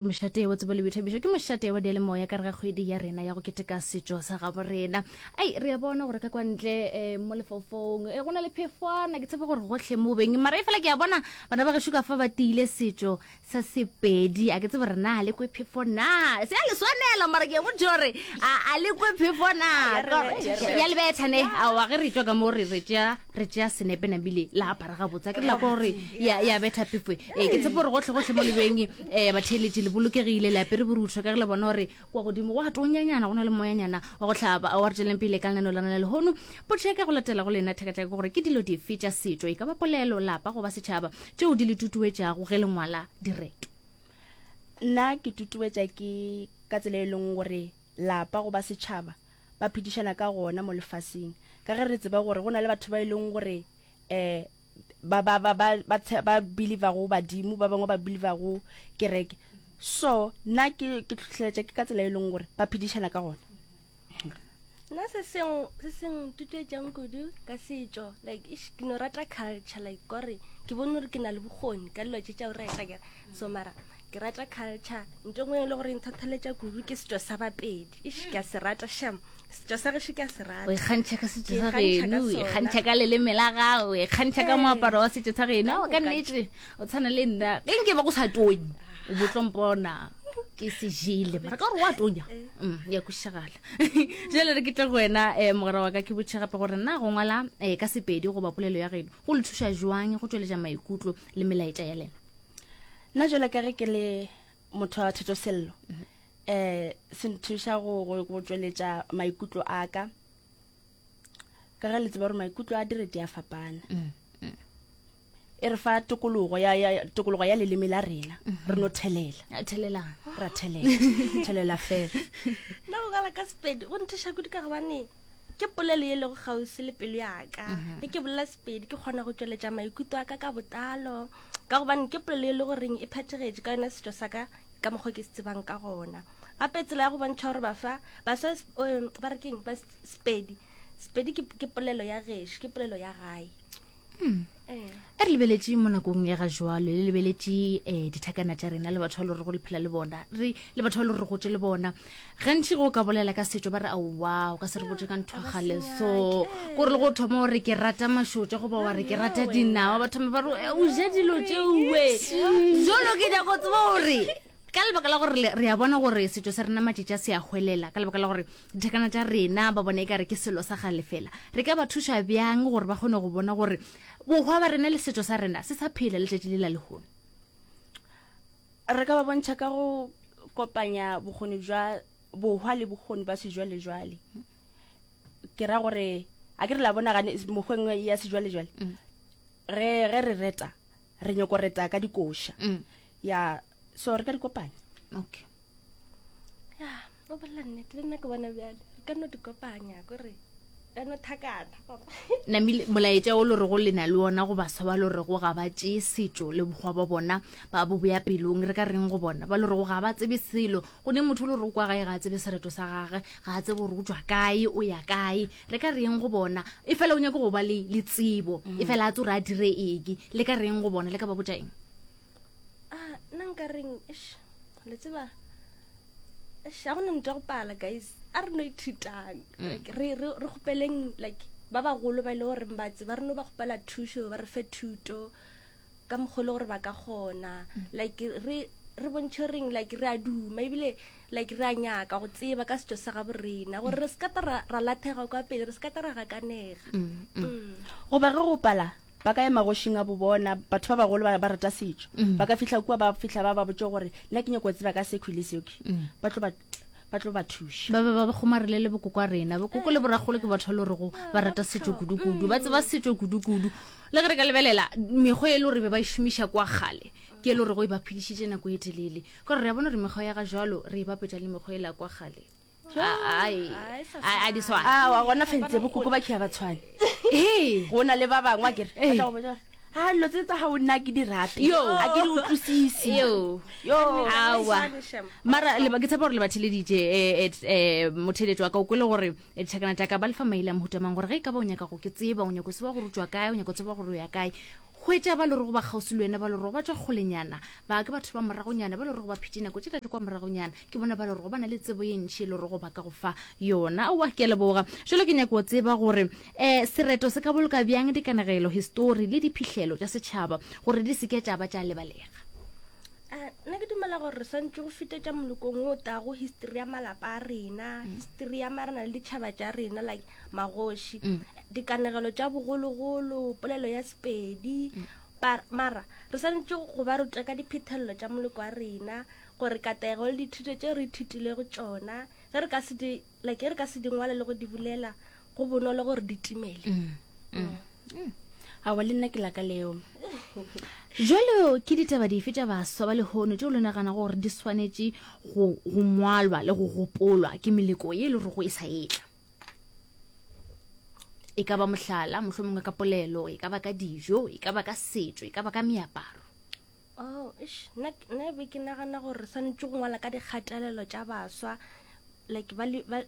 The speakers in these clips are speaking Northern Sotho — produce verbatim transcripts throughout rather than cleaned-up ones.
Mošate wa tsebo le boithabišo ke mošate wa diyalemoya ka re ga kgwedi ya rena ya go keteka setšo sa gabo rena. Ai, re a bona gore ka kwa ntle um mo lefaufong e go na le phefwana, ke tshepe gore gohle mo beng mara e fela ke a bona bana ba gešo ka fa ba tiile setšo sa Sepedi. A ke tsebe gore na le kwe phefo na, se a le swanela mara ke a botša gore a a le kwe phefo na. Ya le betha ne, aowa ge re tšwa ka mo re re tšea re tšea senepe nabile la apara gabotse, a ke re la kwa gore ya ya betha phefo. Ee, ke tshepe gore gohle gohle mo lebeng um batheeletši le bolokegile, le apere borutho ka ge le bona gore kwa godimo go a tonyanyana, go na le moyanyana wa go hlaba. Wa re tšweleng pele ka lenaneo la rena lehono. Potšo ya ka go latela go lena thaka tša ke gore ke dilo dife tša setšo, e ka ba polelo, lapa goba setšhaba, tšeo di le tutuetšago ge le ngwala direto? Nna ke tutuetša ke ka tsela e leng gore lapa goba setšhaba ba phedišana ka gona mo lefaseng, ka ge re tseba gore go na le batho ba e leng gore um ba ba ba ba ba ba believer go badimo, ba bangwe ba believer go kereke. So nna ke ke tlhotlheletša ke ka tsela e leng gore ba phedišana ka gona. Nna se seng se seng tutuetšang kudu ka setšo, like ish, ke no rata culture, like kore ke bone gore ke na le bokgoni ka dilo tše tša go reta kere. So mara ke rata culture, ntho engwe e le gore e ntlhotlheletša kudu ke setšo sa Bapedi. Ish, ke a se rata sham, setšo sa gešo ke a se rata. O ikgantšha ka setšo Ke sa ikgantšha ka geno, o sona. ikgantšha ka leleme la gago, o ikgantšha ka Ee. moaparo wa setšo sa geno. Ka Aowa, ka moka. nnete o tshwana le nna. Ge nke ba go sa tonye, o bo tlo mpona ke se jele, mara ka gore wa tonya, mm, ya kwešišagala. Jale re ke tle go wena um mogwera wa ka, ke botše gape gore na go ngwala um ka Sepedi goba polelo ya geno go le thuša jwang go tšweletša maikutlo le melaetša ya lena? Nna jwalo ka ge ke le motho wa thetosello, um se nthuša go go go tšweletša maikutlo a ka, ka ge le tseba gore maikutlo a direti a fapana. E re fa tokologo ya, ya tokologo ya leleme la rena, re no thelela. A, thelelang. Ra thelela, thelela fela. Nna go ngwala ka Sepedi go nthuša kudu ka gobane ke polelo ye lego kgauswi le pelo ya ka. Ge ke bolela Sepedi ke kgona go tšweletša maikutlo a ka ka botlalo, ka gobane ke polelo e le goreng e phethagetše ka yona setšo sa ka ka mokgwa ke se tsebang ka gona. Gape tsela ya go bontšha gore baswa, baswa, um, ba re keng, ba Sepedi, Sepedi ke, ke polelo ya gešo, ke polelo ya gae. Hmm. Eh. E re lebeletše mo nakong ya ga jwalo, le lebeletše um dithakana tša rena le batho ba le gore go le phela le bona, re le batho ba le gore re gotše le bona. Gantši go ka bolela ka setšo ba re aowa, o ka se re botše ka ntho ya kgale so, kore le go thoma gore ke rata mašotša goba wa re ke rata dinawa, ba thoma ba re, eh, o ja dilo tšeoe. Jalo ke nyaka go tseba gore ka lebaka la gore le-, re a bona gore setšo sa rena matšatši a se a hwelela, ka lebaka la gore dithakana tša rena ba bona e ka re ke selo sa gale fela, re ka ba thuša bjang gore ba kgone go bona gore bohwa ba rena le setšo sa rena se sa phela letšatši le la lehono? Re ka ba bontšha ka go kopanya bokgoni bja bohwa le bokgoni ba sejwalejwale. Ke ra gore a ke re la bona gane mokgweng ya sejwalejwale, Mm. ge, ge re reta re nyako reta ka dikoša. Mm. Ya, so re ka di kopanya. Okay. Ya, o bolela nnete, le nna ke bona bjale re ka no di kopanya, kore ka no thakana. Namile molaetša o le rego le na le ona go baswa ba le rego ga ba tšee setšo le bokgwa ba bona ba bo boya pelong, re ka reng go bona ba le rego ga ba tsebe selo? Go ne motho o le rego kwa gae ga a tsebe sereto sa gage, ga a tsebe gore o tšwa kae, o ya kae, re ka reng go bona? E fela o nyaka go ba le, le tsebo, e fela a tse gore a dire eng, le ka reng go bona, le ka ba botša eng? Ah, nna nka reng, eish, le tseba, eish, ga gona ntho ya go pala, guys, a re no ithutang. Mm. Like, re, re, re kgopeleng, like, ba bagolo ba e le goreng ba tseba, re no ba kgopela thušo, ba re fe thuto ka mokgwa e le gore ba ka kgona. Mm. Like, re, re bontšhe reng, like, re a duma, ebile, like, re a nyaka go tseba ka setšo sa gabo rena, gore re se ka ta ra, ra lathega kwa pele, re se ka ta ra gakanega. Mm, mm. Mm. Goba ge go pala, ba ka ya magošing a bo bona, batho ba bagolo ba, ba rata setšo. Mm. Ba ka fihla kua, ba fihla ba ba botše gore nna ke nyako go tseba ka sekhwi le sekhwi. Mm. Ba tlo ba, ba tlo ba thuša. Ba be ba ba kgomarele le bokoko a rena. Bokoko le boragolo ke batho ba le gorego ba rata setšo kudu-kudu, ba tseba setšo kudu-kudu. Le ge re ka lebelela mekgwa e le gore be ba e šomiša kwa kgale, ke e le gorego e ba phedišitše nako e telele. Ka gore re a bona gore mekgwa ya ga jwalo re e bapetša le mekgwa e la kwa kgale. Ai, ai, a di swane. Aowa, gona fentse bokoko ba khia ba tshwane. Ee. Go na le ba bangwe a kere, ba Ee. tla go botša gore, ha, dilo tse tsa gago nna ke di rate. Yo. A ke di utlwisise. Yo. Yo. Aowa. Tshwane, shem. Mara le ba, ke tshepa gore le ba theleditše, eh, eh, eh, motheletšo wa ka o kwele gore, eh, dithakana tša ka ba lefa maele a mohuta mang, gore ge e ka ba o nyaka go ke tseba, o nyaka go tseba gore o tšwa kae, o nyaka go tseba gore o ya kae, Hwetša ba le rego ba kgauswi le wena, ba le rego ba tšwa kgolenyana, ba ke batho ba moragonyana, ba le rego ba phetše nako tše tša kwa moragonyana, ke bona ba le rego ba na le tsebo ye ntši e le rego ba ka go fa yona. Aowa, ke a leboga. Jalo ke nyako tseba gore um sereto se ka boloka bjang dikanegelo, histori le diphihlelo tša setšhaba gore di se ke tša ba tša lebalega. Nna ke dumela gore re swantse go fetetša molokong o tago history ya malapa a rena, history ya marena le ditšhaba tša rena, like magoši, dikanegelo tša bogologolo, polelo ya Sepedi. Mara re swanetše go ba ruta ka diphethelelo tša moloko wa rena, gore katego le dithuto tšeo re ithutilego tšona, ge re ka se di like ge re ka se di ngwala le go di bolela, go bonolo gore di timele. Aowa, le nna ke laka leo. Jalo ke ditaba dife tša baswa ba lehono tšeo le nagana gore di swanetše go go ngwalwa le go gopolwa ke meleko ye e le rego e sa etla? E ka ba mohlala, mohlomongwe ka polelo, e ka ba ka dijo, e ka ba ka setšo, e ka ba ka meaparo. Oh, eish, nna nna be ke nagana gore re swanetše go ngwala ka dikgatelelo tša baswa, like ba, ba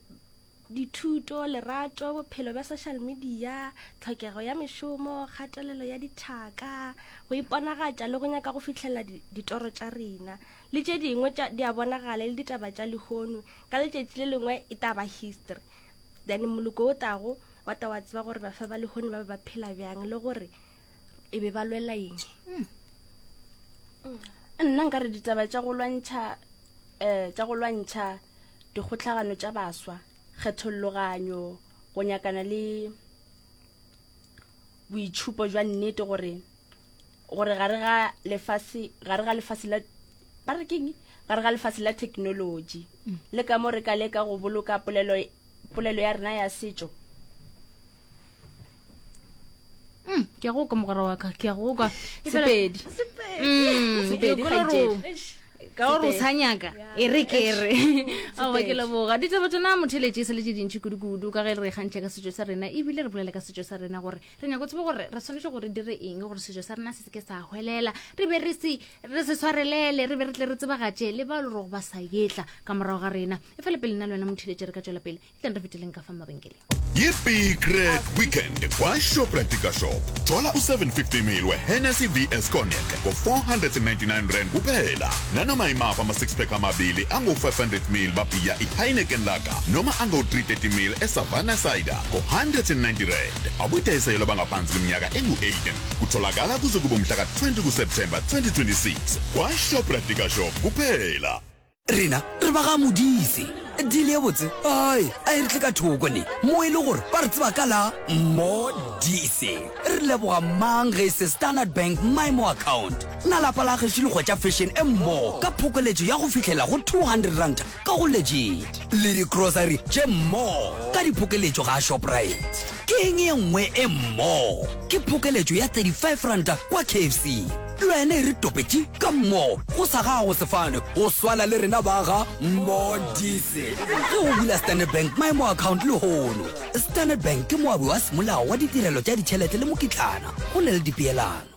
dithuto, lerato, bophelo bja social media, tlhokego ya mešomo, kgatelelo ya dithaka, go iponagatša le go nyaka go fihlelela ditoro tša rena, le tše dingwe tša di a bonagala le ditaba tša lehono. Ka letšatši le lengwe e tla ba history, then moloko o tago wa ta wa tseba gore baswa ba lehono ba be ba phela bjang le gore e be ba lwela eng. Nna nka re ditaba tša go lwantšha um tša go lwantšha dikgohlagano tša baswa, kgetholloganyo, go nyakana le boitšhupo jwa nnete, gore gore gare ga lefase, gare ga lefase la ba re keng, gare ga lefase la technology, le ka mo re ka leka go boloka polelo polelo ya rena ya setšo. Mm, ke a go kwa mogwera wa ka, ke a go kwa. Sepedi. Mm, Sepedi, ke kwele gore ka gore o sa nyaka, e re ke re. Aowa, ke leboga. Ditaba tsona motheletše e sa le tše dintši kudu-kudu, ka ge re kgantšha ka setšo sa rena, ebile re bolela ka setšo sa rena gore re nyaka go tseba gore re swanetše gore dire eng gore setšo sa rena se se ke sa hwelela, re be re se re se swarelele, re be re tle re tsebagatše le ba le gore ba sa etla ka morago ga rena. E fela pele nna le wena motheletše re ka tšwela pele, e tleng re feteleng ka fa mabenkeleng. Yi-Big Red Weekend kwa-Shoprite Shop. Thola u-seven fifty mil we-Hennessy V S Cognac ngo-four hundred and ninety-nine rand kuphela. Nanoma imaphi ama-six pack amabili angu-five hundred mil babhiya i-Heineken Lager noma angu-three thirty mil e-Savannah Cider ngo-hundred and ninety rand. Abudayiselwa bangaphansi kweminyaka engu-eighteen. Kutholakala kuze kube mhla ka-twenty kuSeptember twenty twenty-six kwa-Shoprite Shop kuphela. Rena re ba ga Modise. Dile botse ai a e re tle ka thoko ne mo e le gore ba re tseba ka la Modise. Re leboga mang ge se Standard Bank Maemo account. Na lapa la gešo le hwetša fashion e mmo ka phokoletšo ya go fihlela go two hundred rand ka go Legit. Le di-grocery tše mmo ka diphokeletšo ga Shoprite. Ke eng ye nngwe e mmo? Ke phokeletšo ya thirty-five rand kwa K F C. Le wena e re topetše ka mmo go sa gago sefane go swana le rena ba ga Modise. Ge o bula Standard Bank Maemo account lehono. Standard Bank ke moabi wa semolao wa ditirelo tša ditšhelete le mokitlana go na le dipeelano.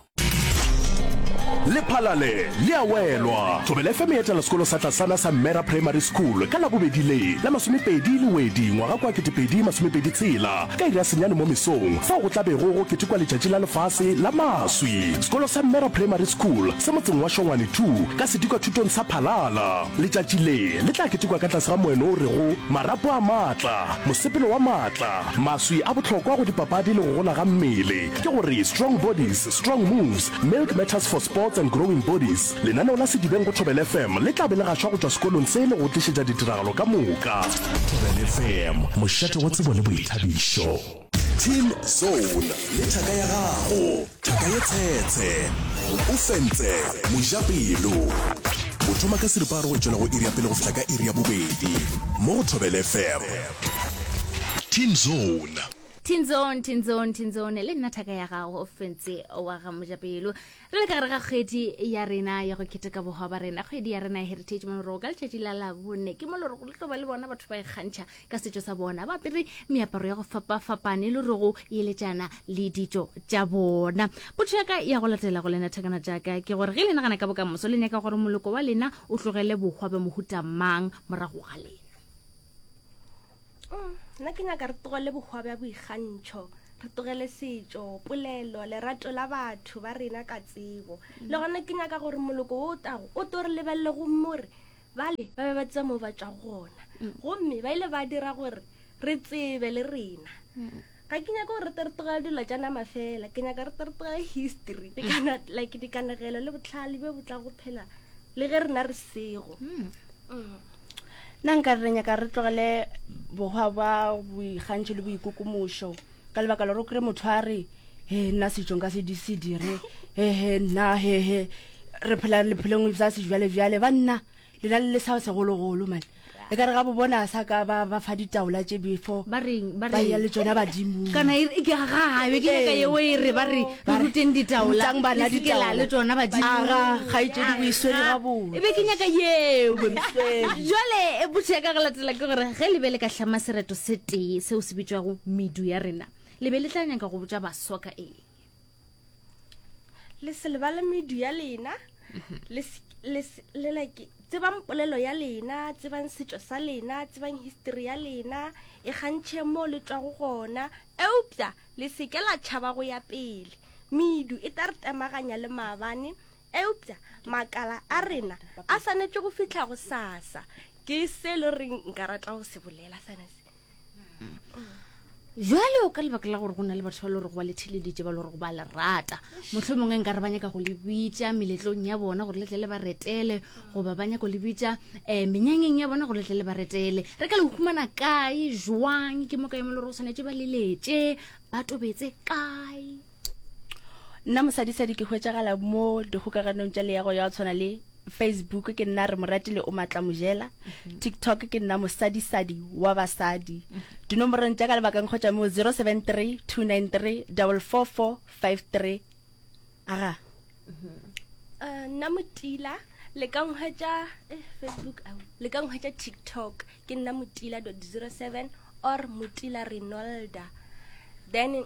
Lephalale le a welwa. Thobela F M e etela sekolo sa tlasana sa Mera Primary School ka labobedi le la masomepedi Lewedi ngwaga kwa ketepedi masomepedi tshela ka iri ya senyane mo mesong, fao go tla bego go ketekwa letšatši la lefase la maswi. Sekolo sa Mera Primary School se motseng wa Shongwane two ka sedikwa thutong sa Phalala. Letšatši le le tla ketekwa ka tlase ga moeno o rego marapo a maatla, mosepelo wa maatla, maswi a bohlokwa go dipapadi le go gola ga mmele, ke gore strong bodies, strong moves, milk matters for sports and growing bodies. Lenaneo la Sedibeng go Thobela F M le tla be le gašwa go tšwa sekolong se le go tlišetša ditiragalo ka moka. Thobela F M, mošate wa tsebo le boithabišo. Teen Zone le thaka ya gago, thaka ye tshetshe, o fentse mojapelo. O thoma ka seripagare go tšwela go iri ya pele go fihla ka iri ya bobedi mo go Thobela F M. Teen Zone. Teen Zone, Teen Zone, Teen Zone, le nna thaka ya gago o fentse wa ga mojapelo. Re le ka gare ga kgwedi ya rena ya go keteka bohwa ba rena, kgwedi ya rena ya Heritage mo ka letšatši la Labone. Ke mo le re go tlo ba le bona batho ba ikgantšha ka setšo sa bona, ba apere meaparo ya go fapafapane le re go eletšana le ditšo tša bona. Potšo ya ka ya go latela go lena thakana tšaka ke gore ge le nagana ka bokamoso, le nyaka gore moloko wa lena o tlogele bohwa bja mohuta mang morago ga lena? Nna ke nyaka re tlogele bohwa bja boikgantšho, re tlogele setšo, polelo, lerato la batho ba rena ka tsebo. Le gona ke nyaka gore moloko wo o tago o tlo re lebelele gomme o re, Bale ba be ba tseba mo ba tšwago gona, gomme ba ile ba dira gore re tsebe le rena. Ga ke nyake gore re tle re tlogele dilo tša nama fela, ke nyaka re tle re tlogele history, dikana, like dikanegelo le bohlale bjo bo tla go phela le ge rena re sego. Mm. Nna nka re re nyaka re tlogele bohwa bja boikgantšho le boikokomošo ka lebaka la gore o kry motho a re he nna setšo nka se di se dire hehe nna hehe re phela lephelong sa sejwalebjale banna lena le le sa segologolo man e ka re ga bo bona sa ka ba ba fa ditaola tše before ba reng ba ba ya reng le tšona badimong kana e re- ke ga be ke nyaka Ee. yeo e re ba re re Ba re, ruteng ditaola rutang bana le se ke la ditaola. le tšona badimo Aga, kgaetšedi o e swere gabotse. e be ke nyaka yeo O e swere. jale e potso ya ka go latela ke gore ge le be le ka hlama sereto se tee seo se bitšwago medu ya rena le be le tla nyaka go botša baswa ka eng Le se lebale medu ya lena, le se- le se- le like tsebang polelo ya lena, tsebang setšo sa lena, tsebang history ya lena, e kgantšheng mo le tšwago gona, eupša le se ke la tšhaba go ya pele. Medu e tla re temaganya le maabane, eupša makala a rena a swanetše go fihla go sasa. Ke se le reng nka rata go se bolela sona se. Jwale ka lebaka la gore go na le batho ba le gore go ba le theleditše ba le gore go ba le rata, mohlomongwe nka re ba nyaka go le bitša meletlong ya bona gore le tle le ba retele, goba ba nyaka go le bitša um menyanyeng ya bona gore le tle le ba retele, re ka le humana kae jwang? Ke mo kae mo le gore o swanetše ba leletše, ba tobetse kae? Nna mosadisadi ke hwetšagala mo dikgokaganong tša leago ya go tshwana le Facebook, ke nna re Moratile o Matla Mojela. TikTok ke nna mosadisadi wa basadi. Dinomorong tša ka lebakang kgotsa mo zero seven three two nine three double four four five three. Aga. Eh, nna Motila le ka nhwetša, eh, Facebook ao, le ka nhwetša TikTok ke nna Motila dot zero seven or Motila Renolda. Then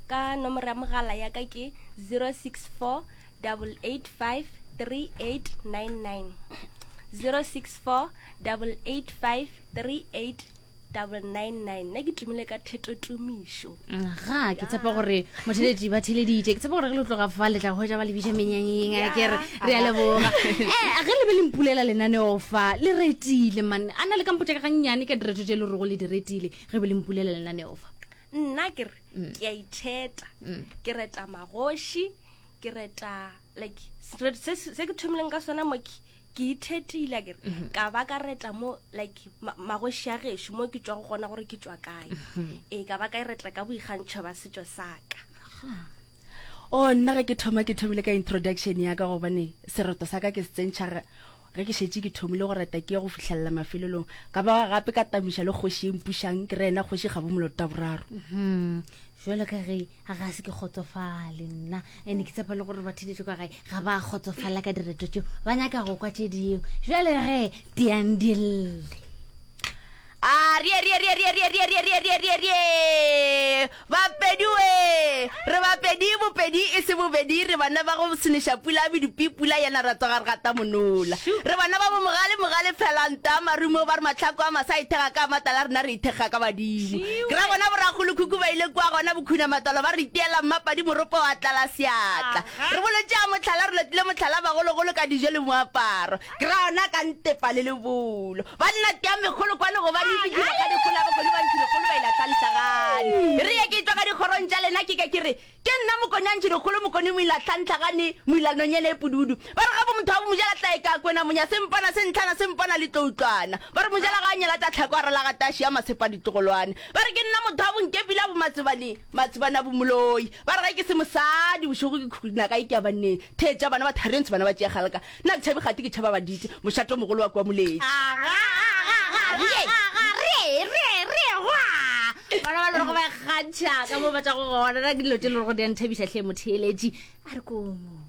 ka nomoro ya mogala ya ka ke zero six four double eight five three eight nine nine. zero six four double eight five three eight double nine nine. Nna ke tumile ka thetotumišo. Ga ke tshepa gore motheletši ba theleditše, ke tshepa gore ge le tloga fa le tla hwetša ba le bitša menyanyeng. A ke re re a leboga. Eh, ge le be le mpulela lenaneo fa le retile man, a na le ka mpotša ka gannyane ka direto tše le rego le di retile ge be le mpulela lenaneo fa? Nna ke re ke a itheta, ke reta magoši, ke reta like se, se, se ke thomileng ka sona mo ke, ke ithetile ke re, ka ba ka reta mo like ma-, magoši a gešo mo ke tšwago gona gore ke tšwa kae. Ee, ka ba ka e reta ka boikgantšho ba setšo sa ka. Oh, nna ge ke thoma ke thomile ka introduction ya ka, gobane sereto sa ka ke se tsentšha ge, ge ke šetše ke thomile go reta ke ye go fihlelela mafelelong. Ka ba gape ka tamiša le kgoši e mpušang, ke re yena kgoši Kgabo Moloto wa boraro. Mhm. Jwalo ka ge ga ga se ke kgotsofale nna, ene ke tshepa le gore batheletši kwa gae ga ba kgotsofala ka direto tšeo, ba nyaka go kwa tše dingwe. Jwale ge tiang dille. A rie, rie, rie, rie, rie, rie, rie, rie, rie, rie, rie. Bapedi we, re bapedi, bopedi e se bobedi, re bana ba go seneša pula medupi, pula yena ra tsoga re gata monola. Re bana ba bo mogale, mogale phelanta, marumo ba re mahlako a masa ithekga ka matala, rena re ithekga ka badimo. Ke ra bona borakgolokhukhu ba ile kua gona bokhuna matolo, ba re itiela mmapadi moropo wa tlala seatla. Re bolotše a mohlala, re lotile mohlala bagologolo ka dijo le moaparo. Ke ra ona ka ntepa le lebolo. Banna tia megolo kwane gobane e fetile ka dikgolo, bakgoni ba ntši dikgolo ba ile tlhantlhagane. Re ye ke tšwa ka dikgorong tša lena, ke ke ke re ke nna mokoni a ntši dikgolo, mokoni moila tlhantlhagane, moila nonyene e pududu. Ba re ga bo motho wa bo mojela tla e ka kwena monya sempana sentlhana sempana le tlo utlwana. Ba re mojela ga a nyela tša tlhako a rela ga taši ya masepa ditlogolwane. Ba re ke nna motho wa bonkepila bo matsebane, matsebane a bo moloi. Ba re ge ke se mosadi bošego ke khuna kae ke ya banneng. Theetša bana ba tharentshe bana ba tšea galaka. Nna ke tšhabe gate ke tšhaba baditše, mošato o mogolo wa kua Moletši. Bana ba lego ba kgantšha ka mo ba tšwago gona, na ke dilo tše le go di a nthabiša hle motheeletši. A re komo.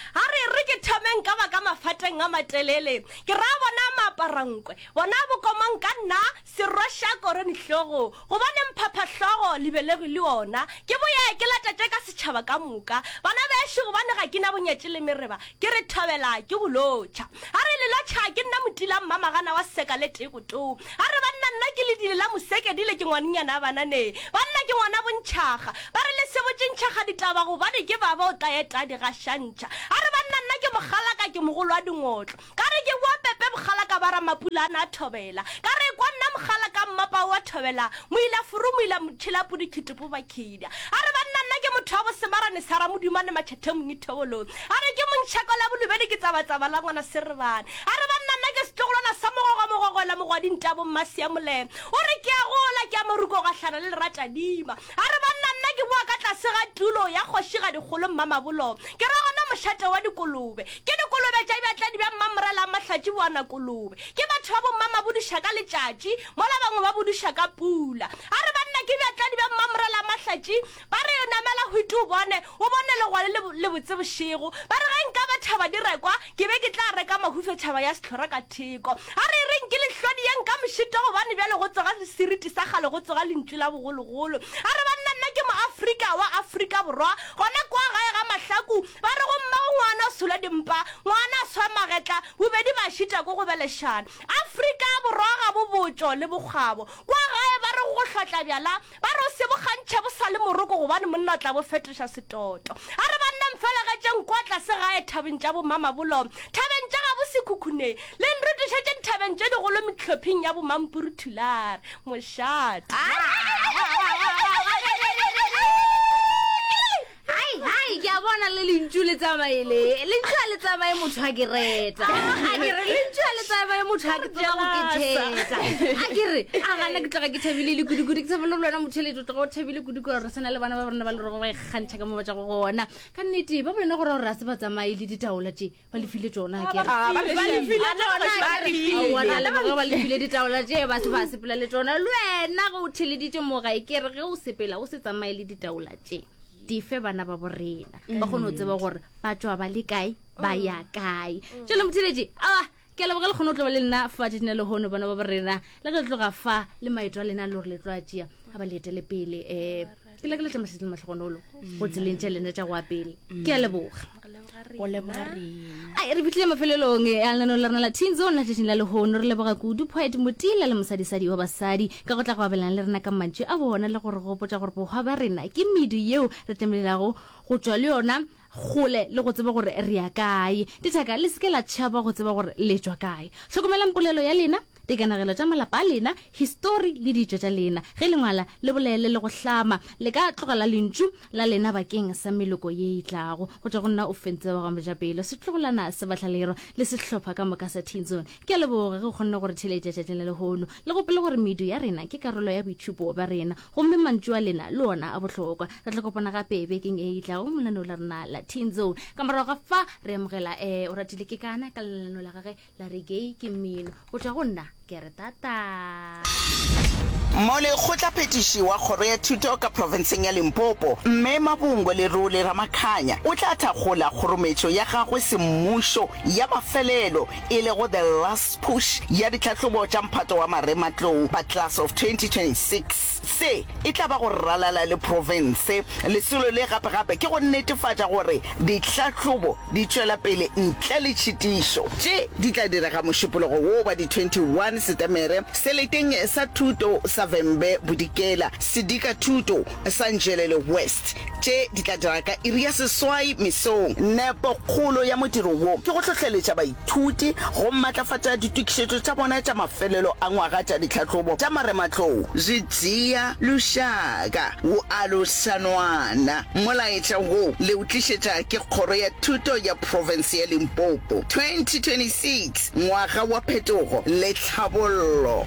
Ha re re ke thomeng ka baka mafateng a matelele, ke ra bona maaparankwe, bona bokomang ka nna serwaša korone hlogo, gobane mphaphahlogo lebelegi le ona, ke boye ke latatše ka setšhaba ka moka. Bana bešo, gobane ga ke na bonyatši le mereba, ke re thobela ke go lotšha. Ha re le lotšha ke nna motila mmamagana wa seka le tekotoo. Ha re banna nna ke ledile la mosekedile ke ngwanenyana a banane. Banna ke ngwana bontšhaga. Ba re le se botše ntšhaga ditaba gobane ke baba o tla eta a di gašantšha. A re banna nna ke mokgalaka ke mogolo wa dingotlo. Ka re ke boa pepe mokgalaka ba ramapula a na a thobela. Ka re ekwa nna mokgalaka mmapa o a thobela moila furu moila motšhela pudi khitopo bakhida. A re banna nna ke motho wa bosemarane sa ramodumane matšhethe mongithobolong. A re ke montšhako la bolobedi ke tsabatsaba la ngwana serebane. A re banna nna ke setlogolwana sa mogogo mogogola mogwadi ntabo mmasiamolema. O re ke a gola ke a moruko gahlana le leratadima. A re banna nna ke boa ka tlase ga tulo ya kgošigadi kgolo Mmamabolo. Ke ra gona mošate wa dikolobe. Ke dikolobe tša bjatladi bja Mmamorela Mahlatši boana kolobe. Ke batho ba bommamabuduša ka letšatši mola bangwe ba buduša ka pula. A re banna ke bjatladi bja Mmamorela Mahlatši ba re namela hwiti o bone, o bone legwale le le botse bošego. Ba re ge nka ba thaba di rekwa ke be ke tla reka mahufetšhaba ya sehlora ka theko. A re e reng ke lehlodi ye nka mošito gobane bjale go tsoga seriti sa kgale go tsoga lentšu la bogologolo. A re banna nna ke Moafrika wa Afrika Borwa gona kwa gae ga Mahlaku. Ba re go mmago ngwana o sola dimpa, ngwana a swa magetla, bobedi ba šita ko go belešana. Afrika Borwa ga bo botšo le bokgabo. Kwa gae ba re go hlotla bjala, ba re o se bo kgantšhe bo sa le moroko gobane monna o tla bo fetoša setoto. A re banna mfelegetšeng kwa tlase gae thabeng tša boMamabolo, thabeng tša gabo Sekhukhune, le nrotošetše dithabeng tše digolo mehlopheng ya boMampuru Thulare. Mošate. Hai, hai, ke a bona le lentšu le tsamaile. Lentšu a le tsamaye motho a ke reta. A ke re lentšu a le tsamaye motho a ke tloga go ke theta. A ke re a gana ke tloga ke thabile le kudu-kudu. Ke thabile le wena motheeletši o tloga o thabile kudu gore re sena le bana ba rena ba le rego ba ikgantšha ka mo ba tšwago gona. Ka nnete ba bolena gore gore a se ba tsamaye le ditaola tše ba le file tšona a ke re. Ah, ba re file tšona, ba re file. Aowa, na leboga ba le file ditaola tše ba se ba sepela le tšona. Le wena ge o theeleditše mo gae ke re ge o sepela o se tsamaye le ditaola tše. Di fe bana ba borena ba kgone go tseba gore ba tšwa ba le kae ba ya kae. Tšwele motheeletši, aowa ke a leboga le kgone go tloba le nna fa tšatšing la lehono bana ba borena. Le ge le tloga fa le maeto a lena le gore le tlo a tšea a ba le etele pele. Um ke lakaletša mašetše le mahlogonolo go tseleng tša lena tša go ya pele. Ke a leboga. Go leboga rena. Ai, re fihlile mafelelong a lenaneo la rena la Teen Zone la tšatšing la lehono. Re leboga kudu Poet Motila le mosadisadi wa basadi ka go tla go abelana le rena ka mantšu a bona le go re gopotša gore bohwa ba rena ke medu yeo re tlamehilego go tšwa le yona kgole le go tseba gore re ya kae. Dithaka, le se ke la tšhaba go tseba gore le tšwa kae. Hlokomelang polelo ya lena, dikanegelo tša malapa a lena, histori le ditšo tša lena. Ge le ngwala, le bolele le go hlama. Le ka tlogela lentšu la lena bakeng sa meloko ye e tlago. Go tšwa go nna o fentse wa ga Mojapelo, setlogolwana sa Bahlalero le sehlopha ka moka sa Teen Zone. Ke a leboga ge o kgonne go re theeletša tšatšing la lehono. Le gopole gore medu ya rena ke karolo ya boitšhupo bja rena, gomme mantšu a lena le ona a bohlokwa. Re tla kopana gape bekeng e e tlago mo lenaneo la rena la Teen Zone. Ka morago ga fa re amogela um Oratile Kekana ka lenaneo la gage la reggae ke mmino. Go tšwa go nna ke re tata. Molekgotlaphethiši wa Kgoro ya Thuto ka profenseng ya Limpopo, Mme Mabungwe Lerole Ramakhanya o tla thakgola kgorometšo ya gagwe semmušo ya mafelelo e lego The Last Push ya ditlhahlobo tša mphato wa marematlou ba Class of twenty twenty-six. Se e tla ba go ralala le profense. Lesolo le gape-gape ke go netefatša gore ditlhahlobo di tšwela pele ntle le tšhitišo. Tše di tla direga Mošupologo wo wa di twenty one Setemere seleteng sa thuto sa Vhembe Bodikela, Sedika Thuto sa Nzhelele West. Tše di tla direga ka iri ya seswai mesong. Nepokgolo ya modiro wo ke go hlohleletša baithuti go matlafatša ditokišetšo tša bona tša mafelelo a ngwaga tša ditlhahlobo tša marematlou. Zwi dzhia lushaka wu alusa nwana. Molaetša wo le o tlišetša ke Kgoro ya Thuto ya Profense ya Limpopo. twenty twenty six, Ngwaga wa Phetogo le Tlhabollo.